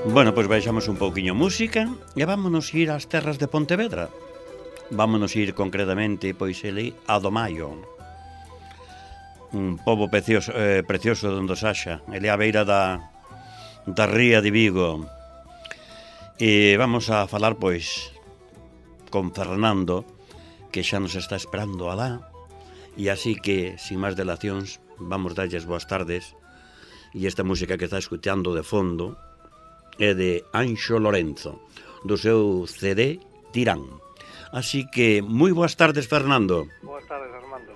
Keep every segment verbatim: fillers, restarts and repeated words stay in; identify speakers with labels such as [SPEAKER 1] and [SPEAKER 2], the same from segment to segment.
[SPEAKER 1] Bueno, pois baixamos un pouquiño música e vámonos ir ás terras de Pontevedra. Vámonos ir concretamente, pois, ele a do Maio. Un pobo precioso, eh, precioso donde Saxa. Ele a beira da, da ría de Vigo. E vamos a falar, pois, con Fernando, que xa nos está esperando alá. E así que, sin máis delacións, vamos darlles boas tardes. E esta música que está escutando de fondo é de Anxo Lorenzo, do seu C D Tirán. Así que, moi boas tardes, Fernando.
[SPEAKER 2] Boas tardes, Armando.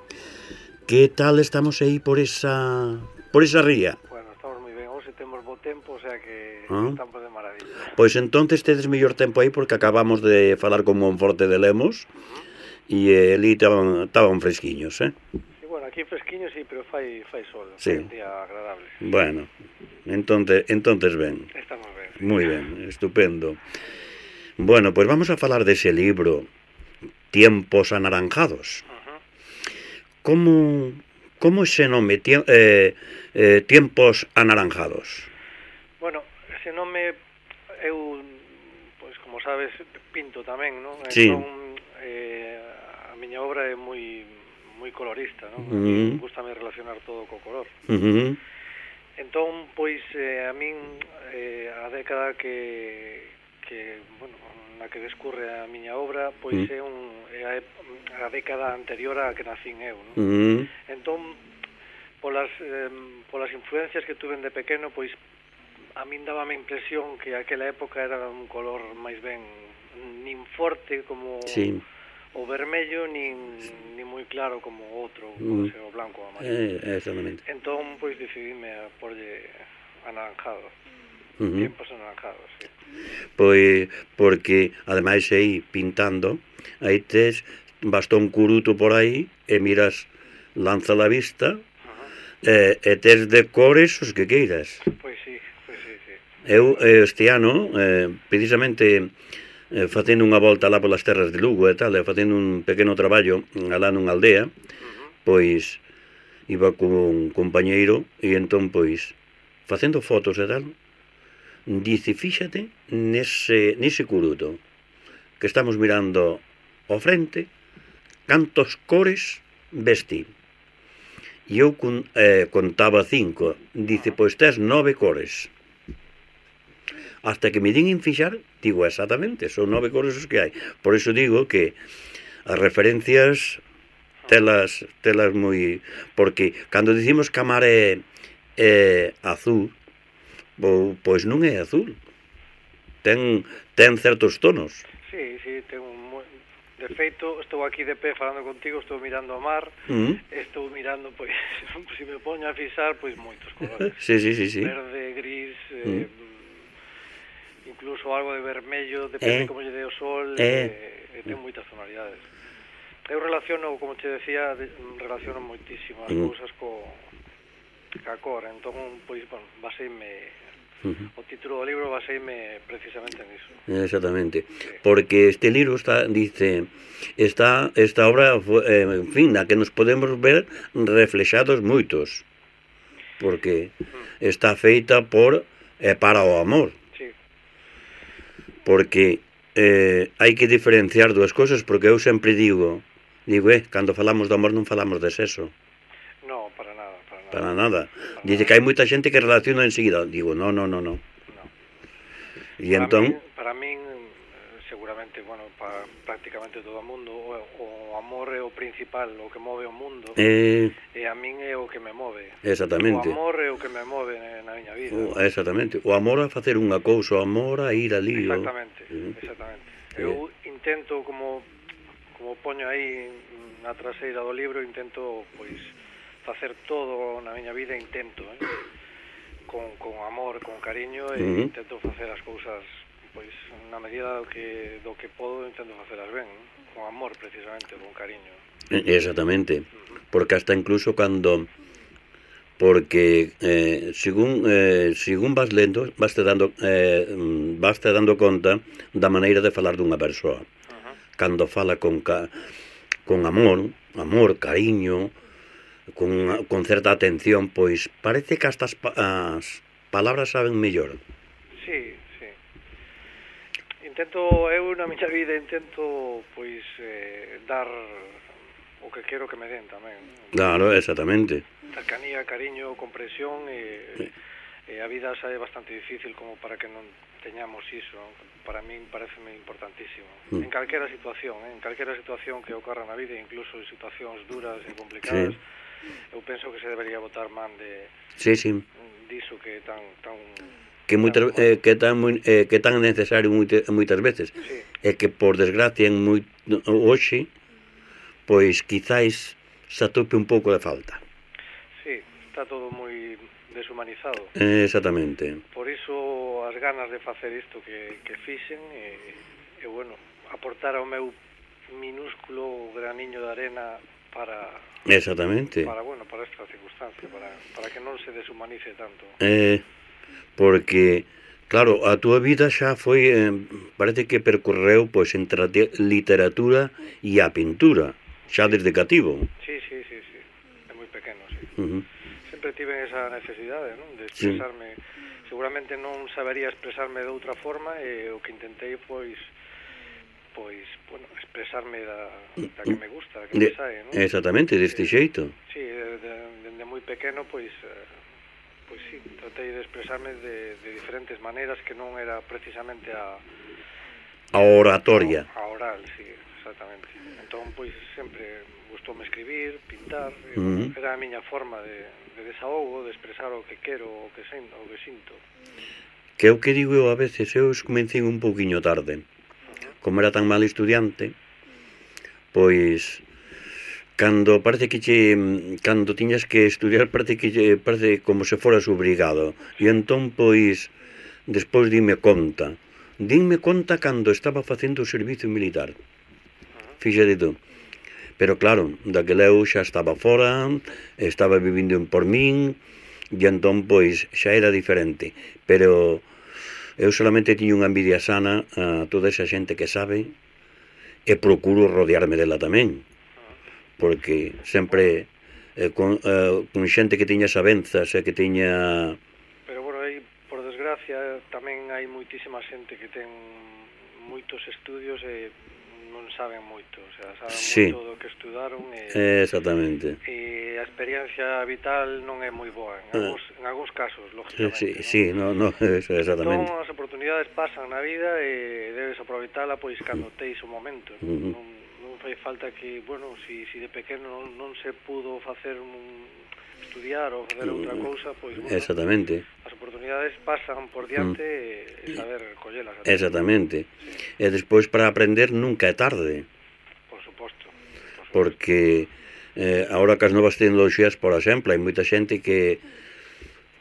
[SPEAKER 1] Que tal estamos aí por esa por esa ría?
[SPEAKER 2] Bueno, estamos moi ben. Hoxe temos bo tempo, o sea que
[SPEAKER 1] ¿Ah?
[SPEAKER 2] estamos de maravilla.
[SPEAKER 1] Pois entonces tedes mellor tempo aí porque acabamos de falar con Monforte de Lemos e uh-huh. ali estaban fresquiños, eh?
[SPEAKER 2] Sí, bueno, aquí fresquiños sí, pero fai fai sol,
[SPEAKER 1] sí.
[SPEAKER 2] Fai un día agradable.
[SPEAKER 1] Bueno, entonces entonces ben.
[SPEAKER 2] Estamos ben. Sí.
[SPEAKER 1] Moi ben, estupendo. Bueno, pois pues vamos a falar dese libro Tiempos anaranjados. Uh-huh. Como como ese nome tie, eh, eh, Tiempos anaranjados?
[SPEAKER 2] Bueno, ese nome eu, pois como sabes, pinto tamén, non?
[SPEAKER 1] Sí.
[SPEAKER 2] Entón, eh, a miña obra é moi moi colorista, non?
[SPEAKER 1] Uh-huh.
[SPEAKER 2] Gústame relacionar todo co color.
[SPEAKER 1] Uh-huh.
[SPEAKER 2] Entón, pois, eh, a min eh, a década que, que, bueno, na que descurre a miña obra, pois uh-huh. é, un, é a, a década anterior a que nacín eu, non?
[SPEAKER 1] Uh-huh.
[SPEAKER 2] Entón, polas, eh, polas influencias que tuven de pequeno, pois, a min daba a impresión que aquela época era un color máis ben nin forte como
[SPEAKER 1] sí.
[SPEAKER 2] o vermello, nin, nin moi claro como o outro, como mm. o blanco ou amarillo.
[SPEAKER 1] Eh, exactamente.
[SPEAKER 2] Entón, pois, decidime a porlle anaranjado. Uh-huh. Tiempos anaranjados, sí.
[SPEAKER 1] Pois, porque, ademais, aí, pintando, aí tes bastón curuto por aí, e miras, lanza la vista, uh-huh. e, e tes de cores os que queiras.
[SPEAKER 2] Pois sí, pois sí, sí.
[SPEAKER 1] Eu, este ano, eh, precisamente, eh, facendo unha volta lá polas terras de Lugo e tal, e facendo un pequeno traballo alá nunha aldea, uh-huh. pois, iba con un compañeiro, e entón, pois, facendo fotos e tal, dice, fíxate nese, nese curuto, que estamos mirando ao frente, cantos cores vesti. E eu con, eh, contaba cinco, dice, pois tes nove cores. Hasta que me din en fixar, digo, exactamente, son nove cores os que hai. Por iso digo que as referencias telas, telas moi... Porque cando dicimos que a mar é, é azul, pois non é azul. Ten, ten certos tonos.
[SPEAKER 2] Sí, sí, ten un... De feito, estou aquí de pé falando contigo, estou mirando o mar, uh-huh. estou mirando, pois, se me poño a fixar, pois, moitos colores.
[SPEAKER 1] Sí, sí, sí, sí.
[SPEAKER 2] Verde, gris...
[SPEAKER 1] Uh-huh.
[SPEAKER 2] Eh, incluso algo de vermello, depende eh, como lle dé o sol,
[SPEAKER 1] eh,
[SPEAKER 2] e, e ten moitas tonalidades. Eu relaciono, como te decía, de, relaciono moitísimo as uh-huh. cousas co ca cor, entón, pois, bueno, baseime, uh-huh. o título do libro baseime precisamente niso.
[SPEAKER 1] Exactamente, sí. Porque este libro está, dice, está, esta obra, eh, en fin, na que nos podemos ver reflexados moitos, porque uh-huh. está feita por e eh, para o amor. Porque eh, hai que diferenciar dúas cousas, porque eu sempre digo, digo, eh, cando falamos do amor non falamos de sexo.
[SPEAKER 2] No, para nada, para nada.
[SPEAKER 1] Para nada. Para Dice nada. Que hai moita xente que relaciona enseguida. Digo, no, no, no, no.
[SPEAKER 2] no.
[SPEAKER 1] E
[SPEAKER 2] para
[SPEAKER 1] entón...
[SPEAKER 2] Min, para min, seguramente, bueno, para prácticamente todo o mundo, o, o amor é o principal, o que move o mundo,
[SPEAKER 1] eh...
[SPEAKER 2] e a min é o que me move.
[SPEAKER 1] Exactamente.
[SPEAKER 2] O amor é o que me move na miña vida.
[SPEAKER 1] O, exactamente. O amor a facer unha cousa, o amor a ir ali.
[SPEAKER 2] Exactamente,
[SPEAKER 1] o...
[SPEAKER 2] exactamente. Eu intento, como como poño aí na traseira do libro, intento, pois, facer todo na miña vida, intento, eh? con, con amor, con cariño, e uh-huh. intento facer as cousas, pois, na medida do que, do que podo, intento facelas ben, eh? Con amor, precisamente, con cariño.
[SPEAKER 1] Exactamente, uh-huh. Porque hasta incluso cando... Porque eh, según eh, según vas lendo, vas te dando eh, vas te dando conta da maneira de falar dunha persoa. Uh-huh. Cando fala con ca, con amor, amor, cariño, con, con certa atención, pois parece que hasta as, as palabras saben mellor.
[SPEAKER 2] Sí, sí. intento, eu na miña vida intento, pois, eh, dar o que quero que me den tamén.
[SPEAKER 1] Claro, exactamente.
[SPEAKER 2] Cercanía, cariño, comprensión e, sí. e a vida xa é bastante difícil como para que non teñamos iso. Para min pareceme importantísimo. Mm. En calquera situación, eh? en calquera situación que ocorra na vida, incluso en situacións duras e complicadas, sí. eu penso que se debería botar man de
[SPEAKER 1] sí, sí.
[SPEAKER 2] diso que tan tan
[SPEAKER 1] que moitas eh, que tan eh, que tan necesario moitas, moitas veces.
[SPEAKER 2] Sí.
[SPEAKER 1] E que por desgracia en moi hoxe pois quizáis se atope un pouco de falta.
[SPEAKER 2] Sí, está todo moi deshumanizado.
[SPEAKER 1] Eh, exactamente.
[SPEAKER 2] Por iso as ganas de facer isto que, que fixen e, e bueno, aportar ao meu minúsculo graniño de arena para
[SPEAKER 1] exactamente
[SPEAKER 2] para bueno, para esta circunstancia, para, para que non se deshumanice tanto.
[SPEAKER 1] Eh, porque claro, a túa vida xa foi eh, parece que percorreu pois entre a literatura e a pintura, xa desde cativo.
[SPEAKER 2] Sí, sí, sí, sí. É moi pequeno, sí.
[SPEAKER 1] Uh-huh.
[SPEAKER 2] Sempre tive esa necesidade, non? De expresarme. Sí. Seguramente non sabería expresarme de outra forma e o que intentei pois pois, bueno, expresarme da, da que me gusta, da que
[SPEAKER 1] de,
[SPEAKER 2] me sae, non?
[SPEAKER 1] Exactamente, deste xeito.
[SPEAKER 2] Sí, desde de, de moi pequeno pois eh, pois sí, tratei de expresarme de, de diferentes maneiras que non era precisamente a
[SPEAKER 1] a oratoria.
[SPEAKER 2] A, a oral, sí, exactamente. Entón, pois, sempre gustoume escribir, pintar, e,
[SPEAKER 1] uh-huh.
[SPEAKER 2] era a miña forma de, de desahogo, de expresar o que quero, o que sinto, o que sinto.
[SPEAKER 1] Que é o que digo eu a veces, eu comecei un pouquiño tarde. Uh-huh. Como era tan mal estudiante, pois cando parece que che, cando tiñas que estudiar parece que che, parece como se foras obrigado. E entón, pois, despois dime conta. Dime conta cando estaba facendo o servicio militar. Fíxate tú. Pero claro, daquela eu xa estaba fora, estaba vivindo en Pormín, e entón, pois, xa era diferente. Pero eu solamente tiño unha envidia sana a toda esa xente que sabe e procuro rodearme dela tamén. Porque sempre eh, con, eh, con xente que tiña sabenzas e que tiña...
[SPEAKER 2] Pero, bueno, aí, por desgracia, tamén hai moitísima xente que ten moitos estudios e non saben moito, o sea, saben
[SPEAKER 1] sí.
[SPEAKER 2] moito do que estudaron e,
[SPEAKER 1] exactamente.
[SPEAKER 2] E a experiencia vital non é moi boa en algúns, ah. en algúns casos, lógicamente.
[SPEAKER 1] Sí, sí, no, no, eso, exactamente.
[SPEAKER 2] Entón, as oportunidades pasan na vida e debes aproveitala pois cando teis o momento. Uh-huh. Non, non fai falta que, bueno, si, si de pequeno non, non se pudo facer un estudiar ou facer outra cousa, pois, bueno,
[SPEAKER 1] exactamente.
[SPEAKER 2] As oportunidades pasan por diante mm. e saber collelas.
[SPEAKER 1] Exactamente.
[SPEAKER 2] Sí.
[SPEAKER 1] E despois para aprender nunca é tarde.
[SPEAKER 2] Por suposto. Por suposto.
[SPEAKER 1] Porque eh, agora que as novas tecnoloxías, por exemplo, hai moita xente que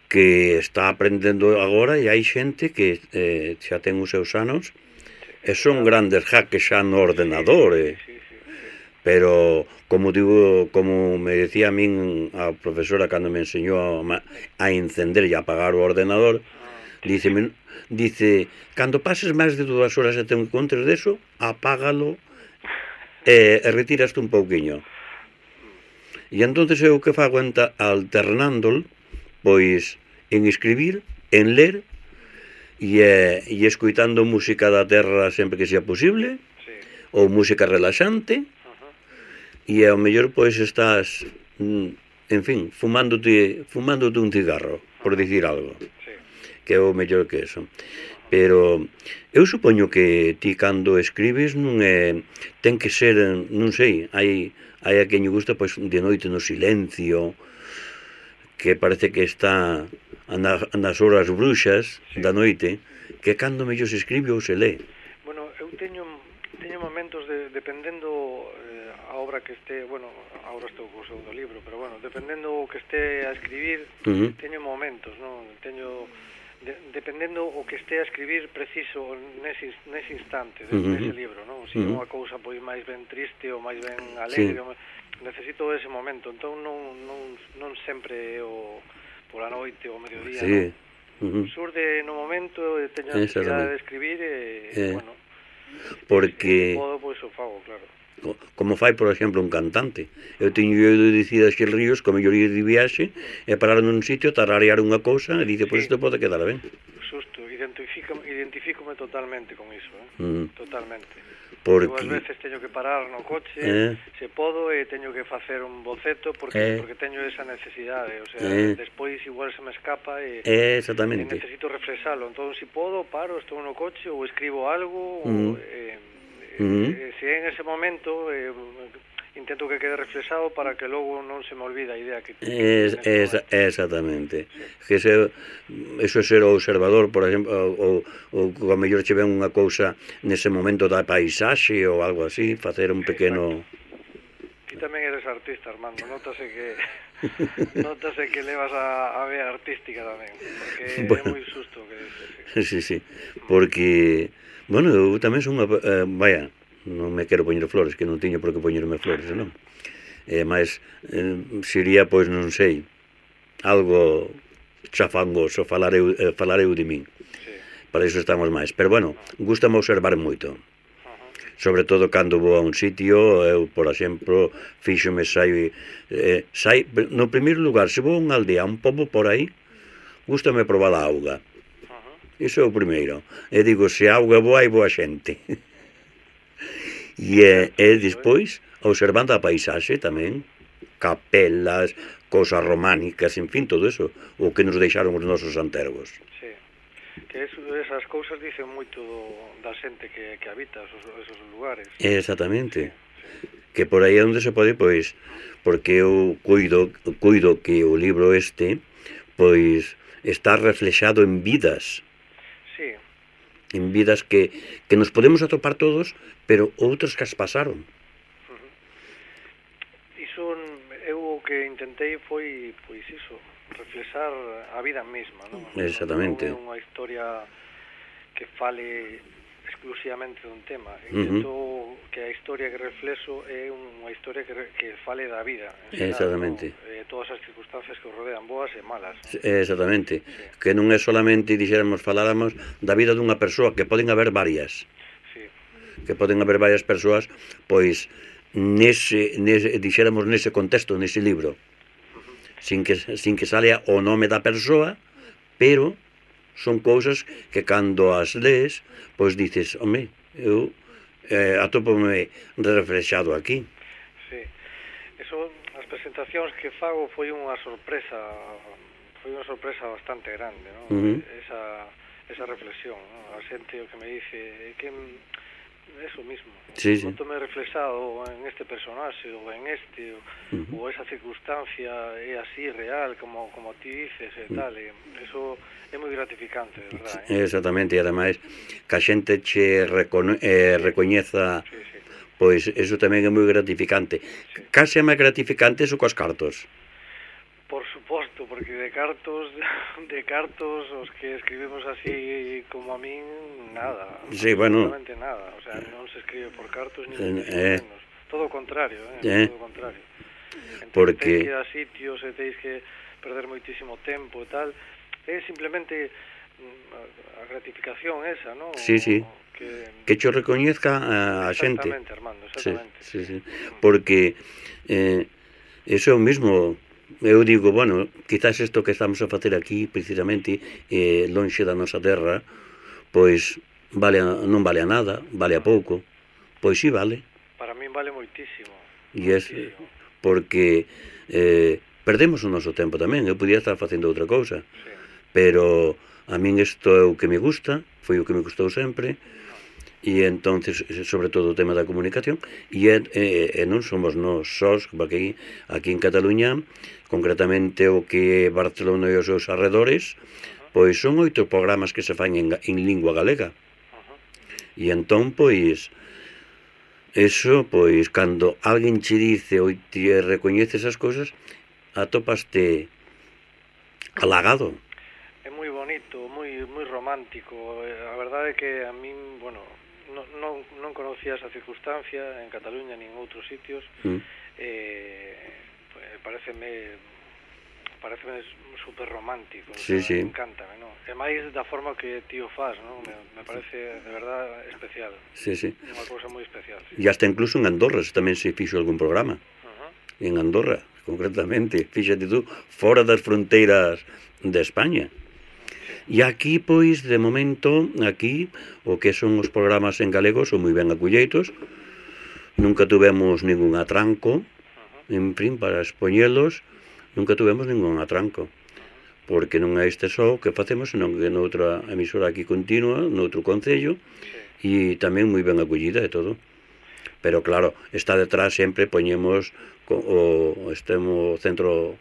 [SPEAKER 1] que está aprendendo agora e hai xente que eh, xa ten os seus anos sí. e son grandes hackers xa no ordenador. Sí, sí, sí, sí, sí. Pero, como digo, como me decía a min a profesora cando me enseñou a, a encender e apagar o ordenador, dice, dice, cando pases máis de dúas horas e te encontres deso, apágalo e, e retiraste un pouquiño. E entonces eu que fago alternándol, pois, en escribir, en ler, e, e escoitando música da terra sempre que sea posible, sí. ou música relaxante, e ao mellor pois estás, en fin, fumándote, fumándote un cigarro, por dicir algo, sí. que é o mellor que eso. Pero eu supoño que ti cando escribes non é, ten que ser, non sei, hai, hai a quen lle gusta pois de noite no silencio, que parece que está nas horas bruxas sí. da noite, que cando mellor se escribe ou se lee.
[SPEAKER 2] Bueno, eu teño, teño momentos de, dependendo a obra que este, bueno, agora estou co segundo libro, pero bueno, dependendo o que este a escribir, uh-huh. teño momentos, non? Teño de, dependendo o que este a escribir preciso nese, nese instante, de, uh-huh. nese libro, non? Se uh-huh. unha cousa pois máis ben triste ou máis ben alegre, sí. necesito ese momento, entón non, non, non sempre o pola noite ou mediodía,
[SPEAKER 1] sí.
[SPEAKER 2] non? Uh-huh. Surde no momento, teño a necesidade de escribir e, eh. bueno,
[SPEAKER 1] porque
[SPEAKER 2] se podo, pois o fago, claro.
[SPEAKER 1] Como fai, por exemplo, un cantante. Eu teño ido dicir a Xil Ríos que o mellor ir de viaxe e parar nun sitio, tararear unha cousa e dice, pois pues isto pode quedar ben.
[SPEAKER 2] Xusto, identifico, identifícome totalmente con iso, eh?
[SPEAKER 1] Mm.
[SPEAKER 2] Totalmente.
[SPEAKER 1] Porque...
[SPEAKER 2] Eu ás veces teño que parar no coche,
[SPEAKER 1] eh.
[SPEAKER 2] se podo, e teño que facer un boceto porque
[SPEAKER 1] eh.
[SPEAKER 2] porque teño esa necesidade, o sea,
[SPEAKER 1] eh.
[SPEAKER 2] despois igual se me escapa e,
[SPEAKER 1] eh,
[SPEAKER 2] e
[SPEAKER 1] exactamente.
[SPEAKER 2] necesito refresalo. Entón, se si podo, paro, estou no coche ou escribo algo,
[SPEAKER 1] mm.
[SPEAKER 2] ou, eh,
[SPEAKER 1] mm.
[SPEAKER 2] eh, se en ese momento eh, intento que quede reflexado para que logo non se me olvide a idea que
[SPEAKER 1] es, es, exactamente. Sí. Que se, eso é ser o observador, por exemplo, ou, ou, ou a mellor che ven unha cousa nese momento da paisaxe ou algo así, facer un pequeno...
[SPEAKER 2] Ti tamén eres artista, Armando, notase que notase que levas a, a vea artística tamén, porque bueno, é moi susto que dices.
[SPEAKER 1] Sí, sí, sí, porque bueno, eu tamén son unha, eh, vaya, non me quero poñer flores, que non tiño por que poñerme flores, non? Eh, mas eh, sería, pois, non sei, algo chafangoso falar eu, eh, falar eu de min. Sí. Para iso estamos máis. Pero, bueno, gústame observar moito. Sobre todo cando vou a un sitio, eu, por exemplo, fíxome sai, eh, sai, no primeiro lugar, se vou a unha aldea, a un pobo por aí, gústame probar a auga. Iso é o primeiro. E digo, se a auga boa, hai boa xente. E, e despois, observando a paisaxe tamén, capelas, cosas románicas, en fin, todo eso, o que nos deixaron os nosos antergos.
[SPEAKER 2] Sí, que eso, esas cousas dicen moito da xente que, que habita esos, esos lugares.
[SPEAKER 1] Exactamente.
[SPEAKER 2] Sí, sí.
[SPEAKER 1] Que por aí é onde se pode, pois, porque eu cuido, cuido que o libro este, pois, está reflexado en vidas.
[SPEAKER 2] Sí.
[SPEAKER 1] En vidas que, que nos podemos atopar todos, pero outros que as pasaron.
[SPEAKER 2] Uh-huh. Iso, eu o que intentei foi, pois iso, reflexar a vida mesma, non?
[SPEAKER 1] Exactamente.
[SPEAKER 2] Non é unha historia que fale exclusivamente dun tema. Intento uh-huh. que a historia que reflexo é unha historia que, que fale da vida.
[SPEAKER 1] Exactamente.
[SPEAKER 2] ¿No? Eh, todas as circunstancias que o rodean, boas e malas. ¿No?
[SPEAKER 1] Exactamente.
[SPEAKER 2] Sí.
[SPEAKER 1] Que non é solamente, dixéramos, faláramos da vida dunha persoa, que poden haber varias.
[SPEAKER 2] Sí.
[SPEAKER 1] Que poden haber varias persoas, pois, nese, nese, dixéramos, nese contexto, nese libro. Uh-huh. Sin que, sin que salea o nome da persoa, pero son cousas que cando as lees, pois dices, home, eu eh, atópome reflexado aquí.
[SPEAKER 2] Sí, eso, as presentacións que fago foi unha sorpresa, foi unha sorpresa bastante grande, non? Uh-huh. Esa, esa reflexión, non? A xente o que me dice, é que eso mismo,
[SPEAKER 1] sí, sí.
[SPEAKER 2] Non tome reflexado en este personaxe ou en este, uh-huh. ou esa circunstancia é así real, como, como ti dices e tal, e eso é moi gratificante, de verdad, eh?
[SPEAKER 1] Exactamente, e ademais que a xente che recone, eh, recoñeza, sí, sí. Pois eso tamén é moi gratificante. Sí. Case é máis gratificante eso cos cartos.
[SPEAKER 2] Por suposto, porque de cartos, de cartos, os que escribimos así como a min, nada.
[SPEAKER 1] Sí, bueno.
[SPEAKER 2] Absolutamente nada. O sea, non se escribe por cartos ni
[SPEAKER 1] eh,
[SPEAKER 2] menos. Todo o contrario, eh?
[SPEAKER 1] eh.
[SPEAKER 2] Todo o contrario. Entón,
[SPEAKER 1] porque...
[SPEAKER 2] teis que ir a sitios e teis que perder moitísimo tempo e tal. É simplemente a gratificación esa, non?
[SPEAKER 1] Sí, sí. Que, que cho recoñezca a, a xente.
[SPEAKER 2] Exactamente, Armando, exactamente.
[SPEAKER 1] Sí, sí, sí. Porque eh, eso mismo... Eu digo, bueno, quizás isto que estamos a facer aquí, precisamente, eh, lonxe da nosa terra, pois vale a, non vale a nada, vale a pouco. Pois sí vale.
[SPEAKER 2] Para min vale moitísimo.
[SPEAKER 1] E é porque eh, perdemos o noso tempo tamén. Eu podía estar facendo outra cousa. Sí. Pero a min isto é o que me gusta, foi o que me gustou sempre. E entonces, sobre todo o tema da comunicación, e, e, e non somos nós sós, porque aquí en Cataluña, concretamente o que é Barcelona e os seus arredores, pois son oito programas que se fan en, en lingua galega. E entón, pois, eso, pois, cando alguén che dice ou te recoñece esas cousas, atopaste halagado.
[SPEAKER 2] É moi bonito, moi moi romántico. A verdade é que a min, bueno, non, non, non conocía esa circunstancia en Cataluña nin en outros sitios. Mm. Eh, pues, pareceme pareceme super romántico,
[SPEAKER 1] sí, o sea,
[SPEAKER 2] sí. Me encanta, ¿no? E máis da forma que tío faz, ¿no? Me, me parece de verdad especial.
[SPEAKER 1] Sí, sí.
[SPEAKER 2] Unha cousa moi especial. Sí.
[SPEAKER 1] E hasta incluso en Andorra tamén se fixo algún programa. Uh-huh. En Andorra, concretamente, fíxate tú, fora das fronteiras de España. E aquí, pois, de momento, aquí, o que son os programas en galego son moi ben acolleitos. Nunca tuvemos ningún atranco, en fin, para expoñelos, nunca tuvemos ningún atranco. Porque non é este só que facemos, senón que noutra emisora aquí continua, noutro concello, e tamén moi ben acollida e todo. Pero claro, está detrás sempre, poñemos o estemo centro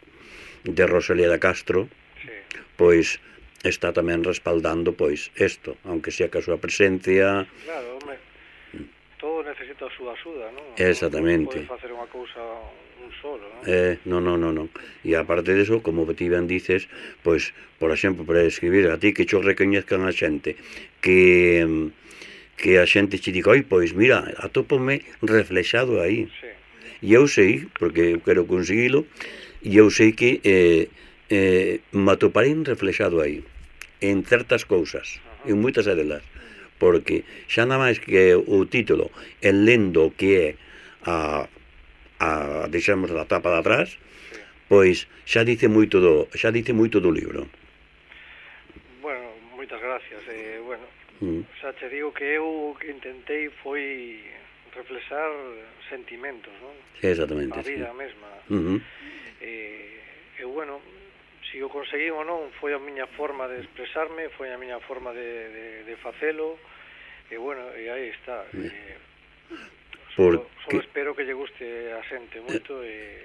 [SPEAKER 1] de Rosalía de Castro, pois está tamén respaldando pois isto, aunque sea que a súa presencia.
[SPEAKER 2] Claro, home, todo necesita a súa axuda, non?
[SPEAKER 1] Exactamente.
[SPEAKER 2] Non pode facer unha cousa un solo, non?
[SPEAKER 1] Eh, non, non, non, non. E aparte diso, como ti ben dices, pois, por exemplo, para escribir a ti que cho recoñezcan a xente, que que a xente che diga, oi, pois mira, atópome reflexado aí.
[SPEAKER 2] Sí.
[SPEAKER 1] E eu sei, porque eu quero conseguilo, e eu sei que eh, eh, me atoparei reflexado aí, en certas cousas, uh-huh. en moitas delas, porque xa nada máis que o título, en lendo que é a, a deixamos a tapa de atrás, sí. Pois xa dice moito do, xa dice moito do libro.
[SPEAKER 2] Bueno, moitas gracias. Eh, bueno,
[SPEAKER 1] mm.
[SPEAKER 2] xa che digo que eu que intentei foi reflexar sentimentos, non?
[SPEAKER 1] Exactamente.
[SPEAKER 2] A vida
[SPEAKER 1] sí.
[SPEAKER 2] mesma.
[SPEAKER 1] Uh-huh.
[SPEAKER 2] E, e bueno, se o conseguí ou non, foi a miña forma de expresarme, foi a miña forma de, de, de facelo, e bueno, e aí está. E, solo, solo espero que lle guste a xente moito e...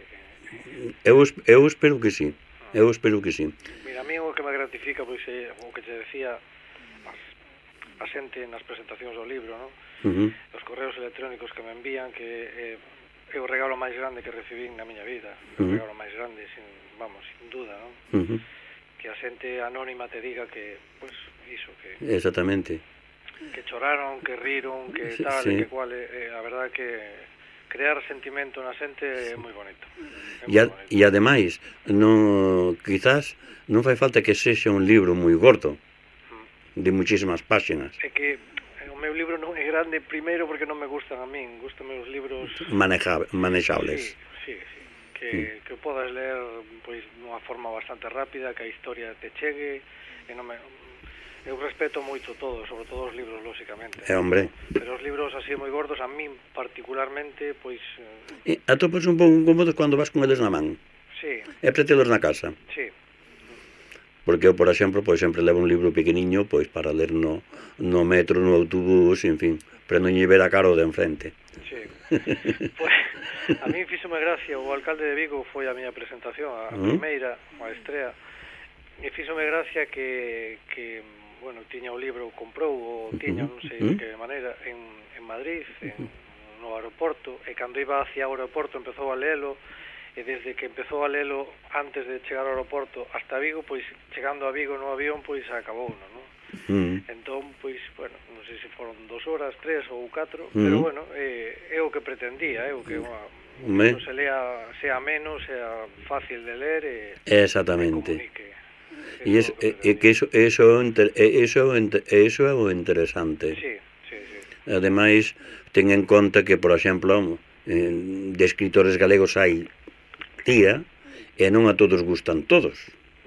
[SPEAKER 1] Eu, eu espero que sí, eu espero que sí.
[SPEAKER 2] Mira, a mí o que me gratifica, pois, é o que te decía, as, a xente nas presentacións do libro, non?
[SPEAKER 1] Uh-huh.
[SPEAKER 2] Os correos electrónicos que me envían, que eh, é o regalo máis grande que recibín na miña vida, uh-huh. o regalo máis grande, sin, vamos, sin duda, non?
[SPEAKER 1] Uh-huh.
[SPEAKER 2] Que a xente anónima te diga que, pois, pues, iso, que...
[SPEAKER 1] Exactamente.
[SPEAKER 2] Que choraron, que riron, que tal, sí. que cual, eh, a verdade que crear sentimento na xente é moi bonito.
[SPEAKER 1] E, a, e ademais, no, quizás non fai falta que sexa un libro moi gordo, mm. de muchísimas páxinas.
[SPEAKER 2] É que o meu libro non é grande, primeiro porque non me gustan a min, gustan meus libros
[SPEAKER 1] Maneja, manexables.
[SPEAKER 2] Sí, sí, sí. Que, mm. que podas ler pois dunha forma bastante rápida, que a historia te chegue, e non me... Eu respeto moito todo, sobre todo os libros, lóxicamente.
[SPEAKER 1] É, hombre.
[SPEAKER 2] Pero os libros así moi gordos, a min particularmente, pois...
[SPEAKER 1] E atopas un pouco incómodos cando vas con eles na man.
[SPEAKER 2] Sí.
[SPEAKER 1] É para telos na casa.
[SPEAKER 2] Sí.
[SPEAKER 1] Porque eu, por exemplo, pois sempre levo un libro pequeniño pois para ler no, no metro, no autobús, en fin, para non lle ver a cara o de enfrente.
[SPEAKER 2] Sí. Pois, a mí fíxome gracia, o alcalde de Vigo foi a miña presentación, a uh-huh. primeira, a estrea, e fíxome gracia que... que bueno, tiña o libro, comprou o tiña, non sei de que maneira, en, en Madrid, en, no aeroporto, e cando iba hacia o aeroporto empezou a lelo, e desde que empezou a lelo antes de chegar ao aeroporto hasta Vigo, pois chegando a Vigo no avión, pois acabou, non? Uh-huh. Entón, pois, bueno, non sei se foron dos horas, tres ou catro, uh-huh. pero bueno, é, é o que pretendía, é o que unha,
[SPEAKER 1] Me...
[SPEAKER 2] non se lea, sea menos, sea fácil de ler e,
[SPEAKER 1] exactamente.
[SPEAKER 2] e comunique.
[SPEAKER 1] E es, é, é que iso eso eso eso é o interesante.
[SPEAKER 2] Sí, sí, sí.
[SPEAKER 1] Ademais, ten en conta que, por exemplo, de escritores galegos hai tía e non a todos gustan todos.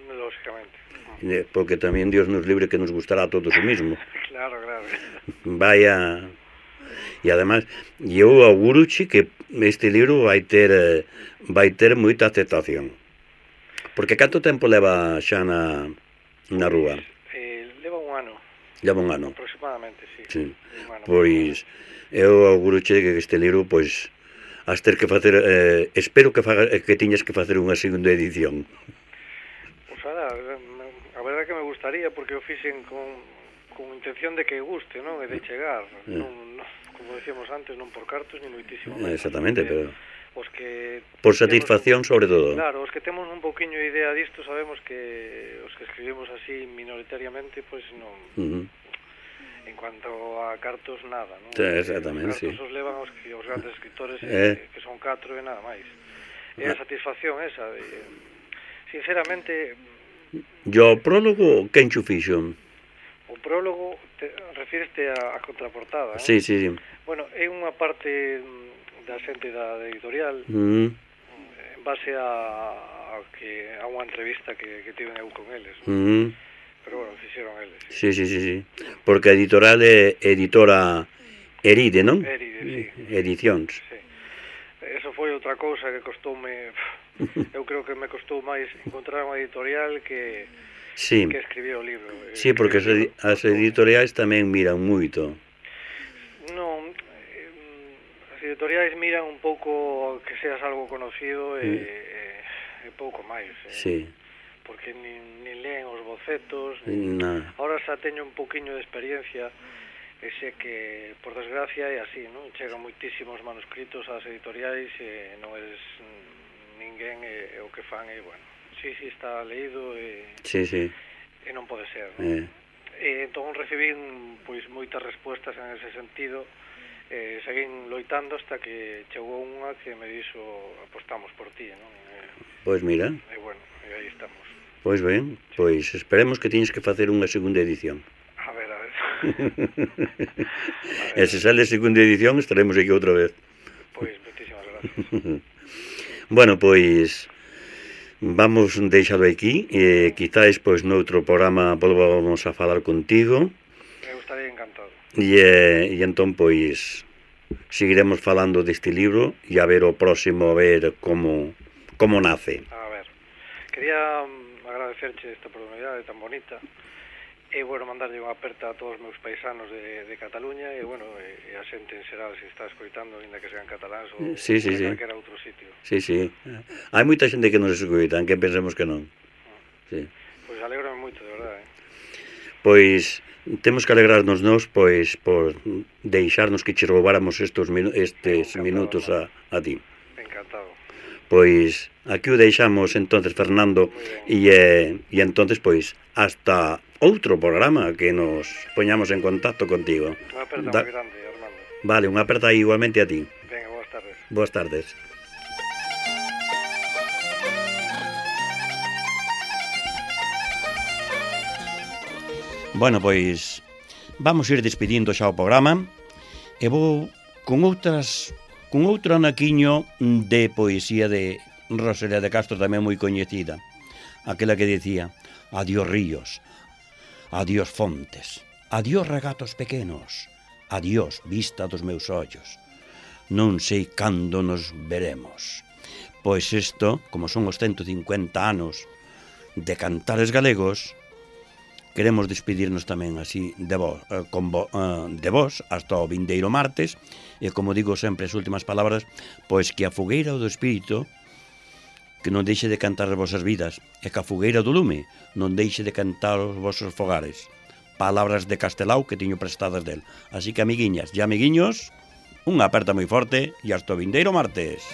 [SPEAKER 2] Lógicamente.
[SPEAKER 1] Porque tamén Dios nos libre que nos gustará a todos o mismo.
[SPEAKER 2] Claro, claro.
[SPEAKER 1] Vaya. E ademais, eu auguroche que este libro vai ter vai ter moita aceptación. Porque canto tempo leva xa na, na rúa?
[SPEAKER 2] Eh, leva un ano.
[SPEAKER 1] Leva un ano?
[SPEAKER 2] Aproximadamente, sí.
[SPEAKER 1] Sí. Ano, pois, eu auguroche que este libro, pois, has ter que facer, eh, espero que faga, que tiñas que facer unha segunda edición.
[SPEAKER 2] Pois, ahora, a verdade que me gustaría, porque o fixen con, con intención de que guste, non? E de chegar. Eh. Non, non, como decíamos antes, non por cartos, ni moitísimo menos.
[SPEAKER 1] Exactamente, pero...
[SPEAKER 2] Os que
[SPEAKER 1] por satisfacción,
[SPEAKER 2] temos,
[SPEAKER 1] sobre todo.
[SPEAKER 2] Claro, os que temos un pouquiño idea disto sabemos que os que escribimos así minoritariamente, pois non. Uh-huh. En cuanto a cartos, nada, non?
[SPEAKER 1] Exactamente,
[SPEAKER 2] os cartos
[SPEAKER 1] sí.
[SPEAKER 2] os levan os, os grandes escritores
[SPEAKER 1] eh.
[SPEAKER 2] que, que son catro e nada máis. E a satisfacción esa de, sinceramente...
[SPEAKER 1] Yo, o prólogo, quen xo fixo?
[SPEAKER 2] O prólogo, te, refíreste a, a contraportada, non?
[SPEAKER 1] Sí, sí, sí.
[SPEAKER 2] Bueno, é unha parte da xente da editorial,
[SPEAKER 1] mm.
[SPEAKER 2] en base a, a que a unha entrevista que, que tiven eu con eles, non?
[SPEAKER 1] Mm.
[SPEAKER 2] Pero bueno, fixeron eles.
[SPEAKER 1] Sí, sí, sí, sí. Porque a editorial é editora Eride, non?
[SPEAKER 2] Eride, sí.
[SPEAKER 1] Edicións.
[SPEAKER 2] Sí. Eso foi outra cousa que costoume... Eu creo que me costou máis encontrar unha editorial que,
[SPEAKER 1] sí.
[SPEAKER 2] que escribir o libro.
[SPEAKER 1] Sí, porque as, edi as editoriais tamén miran moito.
[SPEAKER 2] Non, eh, as editoriais miran un pouco que seas algo conocido e, mm. e, e pouco máis. Eh.
[SPEAKER 1] Sí.
[SPEAKER 2] Porque nin, nin leen os bocetos.
[SPEAKER 1] Nin... No.
[SPEAKER 2] Ahora xa teño un poquinho de experiencia e sei que, por desgracia, é así, non? Chegan moitísimos manuscritos ás editoriais e non eres ninguén e, e o que fan é, bueno, sí, sí, está leído e,
[SPEAKER 1] sí, sí.
[SPEAKER 2] e non pode ser, non?
[SPEAKER 1] Eh.
[SPEAKER 2] E entón recibín, pois, moitas respuestas en ese sentido e seguín loitando hasta que chegou unha que me dixo apostamos por ti, non? E,
[SPEAKER 1] pois mira.
[SPEAKER 2] E, bueno, e aí estamos.
[SPEAKER 1] Pois ben, sí. Pois esperemos que teñes que facer unha segunda edición.
[SPEAKER 2] A ver, a ver.
[SPEAKER 1] E se sale a segunda edición estaremos aquí outra vez.
[SPEAKER 2] Pois, moitísimas gracias.
[SPEAKER 1] Bueno, pois vamos deixado aquí e quizáis pois noutro programa volvamos a falar contigo.
[SPEAKER 2] Eu estaría encantado.
[SPEAKER 1] E, e entón pois seguiremos falando deste libro e a ver o próximo a ver como como nace.
[SPEAKER 2] A ver, quería agradecerche esta oportunidade tan bonita. E, bueno, mandarlle unha aperta a todos os meus paisanos de, de Cataluña e, bueno, e, e a xente en xeral se está escoitando, ainda que sean cataláns ou
[SPEAKER 1] sí, sí,
[SPEAKER 2] de
[SPEAKER 1] sí.
[SPEAKER 2] calquera outro sitio.
[SPEAKER 1] Sí, sí. Hai moita xente que nos escoitan, que pensemos que non. Sí.
[SPEAKER 2] Pois alégrome moito, de verdade. Eh?
[SPEAKER 1] Pois temos que alegrarnos nós pois por deixarnos que che roubáramos estes, minu estes
[SPEAKER 2] Encantado,
[SPEAKER 1] minutos a, a ti.
[SPEAKER 2] Encantado.
[SPEAKER 1] Pois aquí o deixamos entonces, Fernando, e, eh, e entonces pois hasta outro programa que nos poñamos en contacto contigo.
[SPEAKER 2] Unha aperta da... moi grande, Armando.
[SPEAKER 1] Vale, unha aperta igualmente a ti.
[SPEAKER 2] Venga, boas tardes.
[SPEAKER 1] Boas tardes. Bueno, pois vamos ir despedindo xa o programa e vou con outras con outro anaquiño de poesía de Rosalía de Castro, tamén moi coñecida, aquela que dicía: adiós ríos, adiós fontes, adiós regatos pequenos, adiós vista dos meus ollos, non sei cando nos veremos. Pois isto, como son os ciento cincuenta anos de Cantares Galegos, queremos despedirnos tamén así de vos, eh, con vo, eh, de vos hasta o vindeiro martes, e como digo sempre as últimas palabras, pois que a fogueira do espírito que non deixe de cantar as vosas vidas, e que a fogueira do lume non deixe de cantar os vosos fogares. Palabras de Castelao que teño prestadas del. Así que, amiguiñas e amiguiños, unha aperta moi forte e hasta o vindeiro martes.